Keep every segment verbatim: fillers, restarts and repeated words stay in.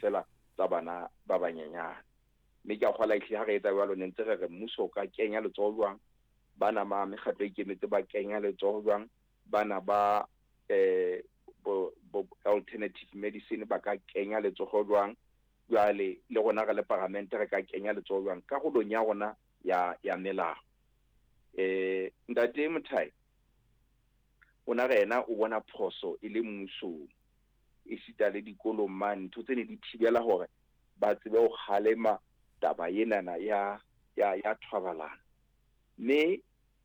feela tsa bana ba banyenyane. Mme ke a kgolwa ehlile ha re etsa jwalo ne ntse re re mmuso o ka kenya letsoho jwang, bana ba mekgatlo e ikemetseng ba kenya letsoho jwang, bana ba eh bo, bo alternative medicine ba ka kenya letsoho jwang, jwale le rona re le paramente re ka kenya letsoho jwang karolong ya rona ya ya melao. Eh ntate Mothai o na re yena o bona phoso e le mmusong esita le dikolong mane, ntho tse ne di thibela hore ba tsebe ho kgalema taba enana ya ya ya thobalano. Mme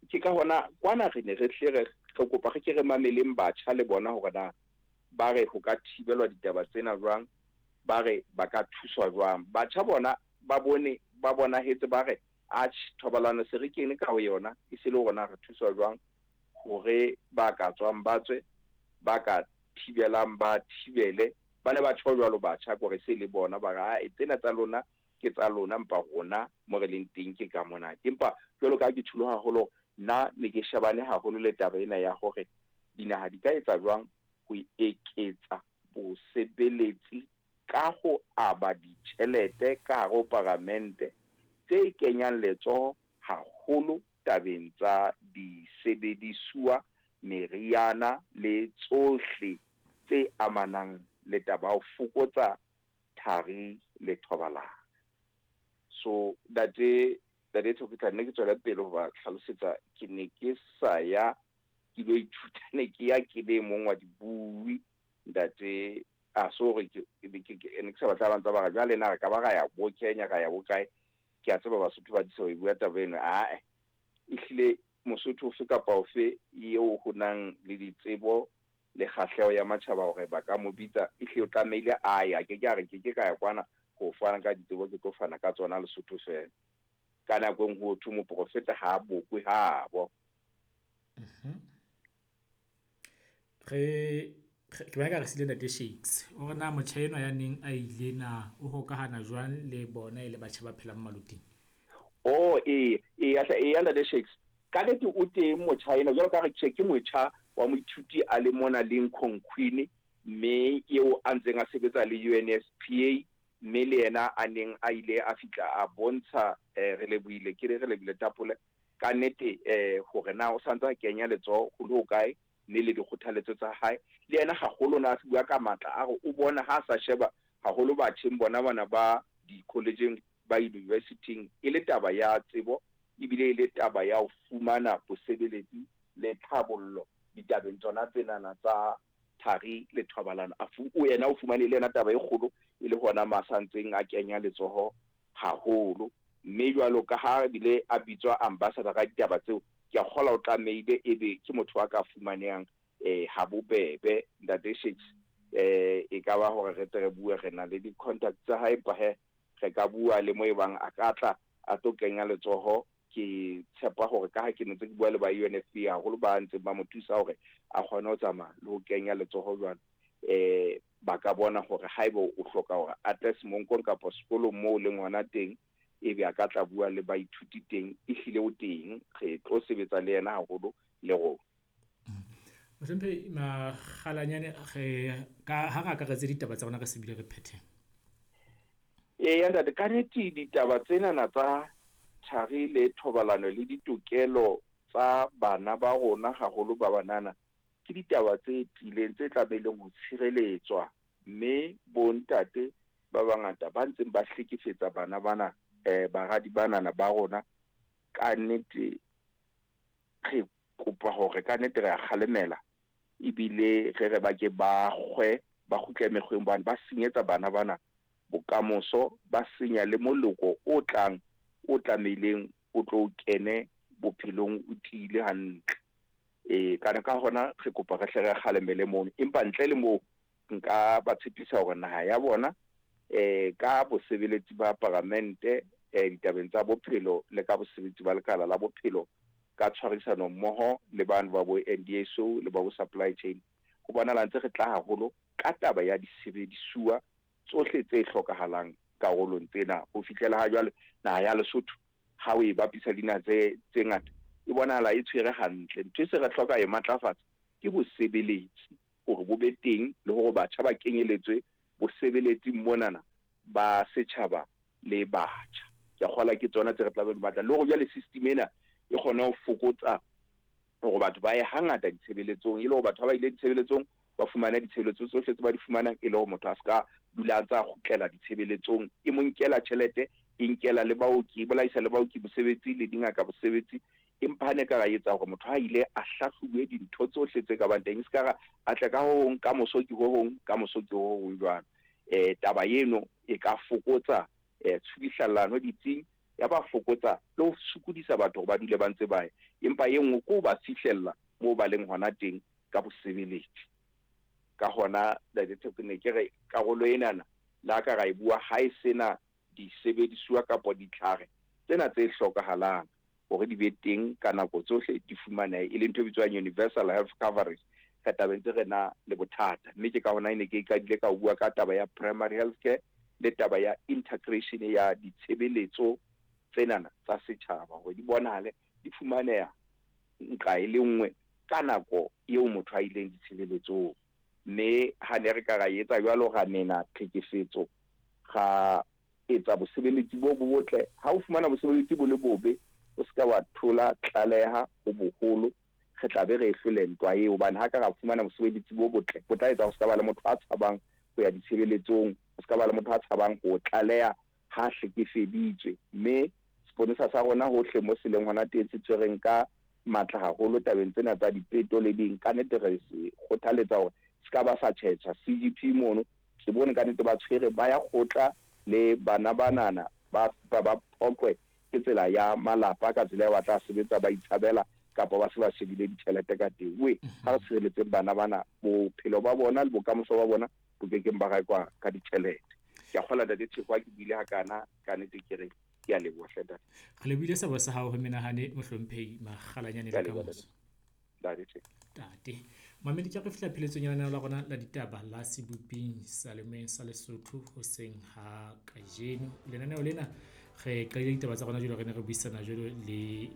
ke ka hona kwana re ne re hle re re kopa re ke re mameleng batjha le bona hore na ba re ho ka thibelwa ditaba tsena jwang, ba re ba ka thuswa jwang. Batjha bona ba bone ba bonahetse ba re atjhe thobalano se re kene ka ho yona, e se le hore na re thuswa jwang hore ba ka tswang ba tswe, ba ka thibelang ba thibele. Ba ne ba tjho jwalo batjha kore se le bona ba re ae tsena tsa lona ke tsa lona, empa rona mo re leng teng ke ka mona. Empa jwalo ka ha ke tjholo haholo, nna ne ke shebane haholo le taba ena ya hore dinaha di ka etsa jwang ho eketsa bosebeletsi ka ho aba ditjhelete ka hare ho paramente tse kenyang letsoho haholo tabeng tsa disebedisuwa, meriana le tsohle tse amanang le taba ya ho fokotsa thari le thobalano. So ntate ntate Thoko, nne ke tswela pele ho ba hlalosetsa, ke ne ke sa ya ke lo ithuta, ne ke ya ke le mong wa dibui ntate. A so hore ke ke ke ne ke sa batla ba ntse ba re jwale na re ka ba ra ya bo Kenya, ra ya bo kae. Ke a tseba Basotho ba disa ho e bua taba eno. Ae, ehlile Mosotho ofe kapa ofe eo ho nang le ditsebo le kgahleho ya matjhaba hore ba ka mo bitsa, ehlile o tlamehile a ye. A ke ke a re ke ke ka ya kwana ho fana ka ditsebo, ke tlo fana ka tsona Lesotho feela. Ka nako e nngwe ho thwe moprofeta ha a bokwe habo. Re ke bona eka re siile ntate Shakes. O re na motjha enwa ya neng a ile na o hokahana jwang le bona e le batjha ba phelang maloting? Oh ee, ee ee ntate Shakes. Ka nnete o teng motjha ena, jwalo ka re tjhe ke motjha wa moithuti a le mona Lincoln Queen, mme eo a ntseng a sebetsa le U N F P A, mme le yena a neng a ile a fihla a bontsha eh re lebohile, ke re re lebohile Tapole ka nnete eh hore na o santse a kenya letsoho ho le hokae, mme le dikgothaletso tsa hae. Le yena haholo na a bua ka matla a re o bona ha sa sheba haholo batjheng bona bana ba di-college-eng ba university-ing e le taba ya tsebo, ebile e le taba ya ho fumana bosebeletsi le tlhabollo ditabeng tsona tsenana tsa thari le thobalano. A fu-, o yena o fumane le yena taba e kgolo e le hona ma sa ntseng a kenya letsoho haholo. Mme jwalo ka ha ebile a bitswa ambassador ka ditaba tseo, ke a kgolwa o tlamehile ebe ke motho a ka fumanehang eh ha bobebe ntate Shakes. Eh e ka ba hore re tle re bue, re na le di-contact tsa hae, empa he re ka bua le mo ebang a ka tla a tlo kenya letsoho. Ke tshepa hore ka ha ke ntse ke bua le ba U N F P A haholo ba ntseng ba mo thusa hore a kgone ho tsamaya le ho kenya letsoho jwalo, eh ba ka bona hore haeba o hloka hore a tle semonkong kapa sekolong moo leng hona teng, ebe a ka tla bua le baithuti teng, ehlile o teng, re tlo sebetsa le yena haholo le rona. Mohlomphehi Makgalanyane, re ka ha re akaretse ditaba tsa rona re se bile re phethe. Eya ntate, ka nnete ditaba tsenana tsa thari le thobalano le ditokelo tsa bana ba rona haholo ba banana ke ditaba tse tiileng tse tlamehileng ho tshireletswa, mme bontate ba bangata ba ntseng ba hlekefetsa bana bana, eh baradi banana ba rona, ka nnete re kopa hore ka nnete re a kgalemela, ebile re re ba ke ba kgwe, ba kgutle mekgweng, hobane ba senyetsa bana bana bokamoso, ba senya le moloko o tlang o tlamehileng o tlo kene bophelong o tiile hantle. Eh kana ka hona re kopa re hle re kgalemele mono, empa ntle le moo nka ba tshepisa hore naha ya bona eh ka bosebeletsi ba paramente, eh ditabeng tsa bophelo le ka bosebetsi ba lekala la bophelo ka tshwarisano mmoho le bano ba bo N D S O le ba bo supply chain, ho bonahala ntse re tla haholo ka taba ya disebedisuwa tsohle tse hlokahalang karolong tsena. Ho fihlela ha jwale naha ya Lesotho ha o e bapisa le dinaha tse, tse ngata e bonahala e tshwere hantle. Ntho e se re hloka e matlafatsa ke bosebeletsi hore bo be teng le hore batjha ba kenyeletswe bosebeletsing monana ba setjhaba le batjha. Ke a kgolwa ke tsona tse re tla be re batla. Le hore jwale system ena e kgone ho fokotsa hore batho ba ye hangata ditshebeletsong, e le hore batho ha ba ile ditshebeletsong ba fumane ditshebeletso tsohle tse ba di fumanang, e le hore motho a ska dula a ntsa kgutlela ditshebeletsong. E mo nkela tjhelete, e nkela le baoki, e bolaisa le baoki bosebetsi le dingaka bosebetsi. Empa ha ne ka ra etsa hore motho ha ile a hlahlobuwe dintho tsohle tse ka bang teng, e ska ra a tle ka ho hong, ka moso ke ho hong, ka moso ke ho hong jwalo. Eh taba eno e ka fokotsa eh tshubuhlellano ditsing, ya ba fokotsa le ho sokodisa batho hore ba dule ba ntse ba ya. Empa e nngwe ke ho ba fihlella moo ba leng hona teng ka bosebeletsi. Ka hona Ntate Theko, ne ke re karolo enana le ha ka ra e bua ha e sena disebedisuwa kapa ditlhare tsena tse hlokahalang hore di be teng ka nako tsohle, di fumanehe, e leng ntho e bitswang universal health coverage, re tla be ntse re na le bothata. Mme ke ka hona e ne ke qadile ka ho bua ka taba ya primary health care le taba ya integration ya ditshebeletso tsenana tsa setjhaba, hore di bonahale di fumaneha nqa e le nngwe ka nako eo motho a ileng ditshebeletsong. Mme ha ne re ka ra etsa jwalo, ra mena tlhekefetso, ra etsa bosebeletsi bo bo botle. Ha o fumana bosebeletsi bo le bobe, o ska wa thola tlaleha ho boholo, re tla be re e hlole ntwa eo. Hobane ha ka ra fumana bosebeletsi bo botle, bo tla etsa ho ska ba le motho a tshabang ho ya ditshebeletsong, ho ska ba le motho a tshabang ho tlaleha ha hlekefeditswe. Mme seponesa sa rona hohle mo se leng hona teng se tshwereng ka matla haholo tabeng tsena tsa dipeto le ding, ka nnete re se kgothaletsa hore se ka ba sa tjhetjha. C G P mono ke bone ka nnete ba tshwere ba ya kgotla le bana banana ba ba ba phoqwe ke tsela ya malapa, ka tsela ya ba tla sebetsa ba itshabela kapa ba se ba shebile ditjhelete ka teng. We ha re tshireletseng bana bana, bophelo ba bona le bokamoso ba bona bo kekeng ba rekwa ka ditjhelete. Ke a kgolwa Ntate Theko ha ke buile hakana, ka nnete ke re ke a leboha hle ntate. Re lebohile sebo sa hao ho menahane mohlomphehi Makgalanyane Ke a le leboha, kamoso. Ntate Theko. Ntate. Mamedi, ke re fihla pheletsong ya lenaneo la rona la ditaba la Seboping sa Lemeng sa Lesotho hoseng ha kajeno. Lenaneo lena re qadile ditaba tsa rona jwalo, re ne re buisana jwalo le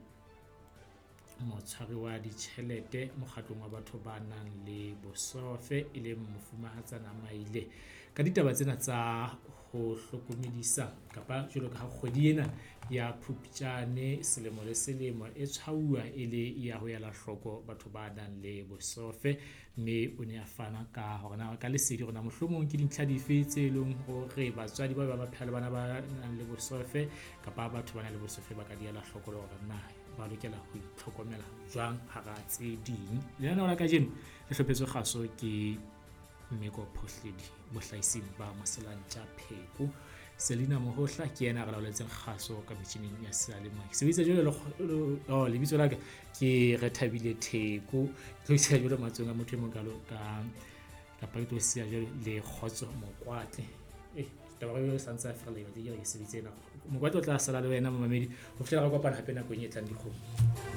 motshwari wa ditjhelete mokgatlong wa batho ba nang le bosofe, e leng Mofumahatsana Maile, ka ditaba tsena tsa ho hlokomedisa kapa jwalo ka ha kgwedi ena ya Phupjane selemo le selemo e tshwauwa e le ya ho ela hloko batho ba nang le bosofe. Mme o ne a fana ka hore na ka lesedi hore na mohlomong ke dintlha dife tse leng hore batswadi ba ba ba phela le bana ba nang le bosofe kapa batho ba nang le bosofe ba ka di ela hloko le hore na ba lokela ho itlhokomela jwang hara tse ding. Lenaneo la kajeno le hlophetswe kgaso ke Mmeko Phohledi, bohlahising ba Moselantja Pheko. Selina Mohohla ke yena a re laoletseng kgaso ka metjhining ya seyalemoya. Ke sebedisa jwalo le kgo-, le-, oh, lebitso la ka ke Rethabile Theko. Ke tlo isiya jwalo matsohong a motho e mong kalo ka, kapa ke tlo siya jwalo le Kgotso Mokwatle. Eh, taba eo e sa ntse a ferela, ke batla ke sebedise ena. Mokwatle o tla sala le wena momamedi ho fihlela re kopana hape nakong e tlang dikgomo.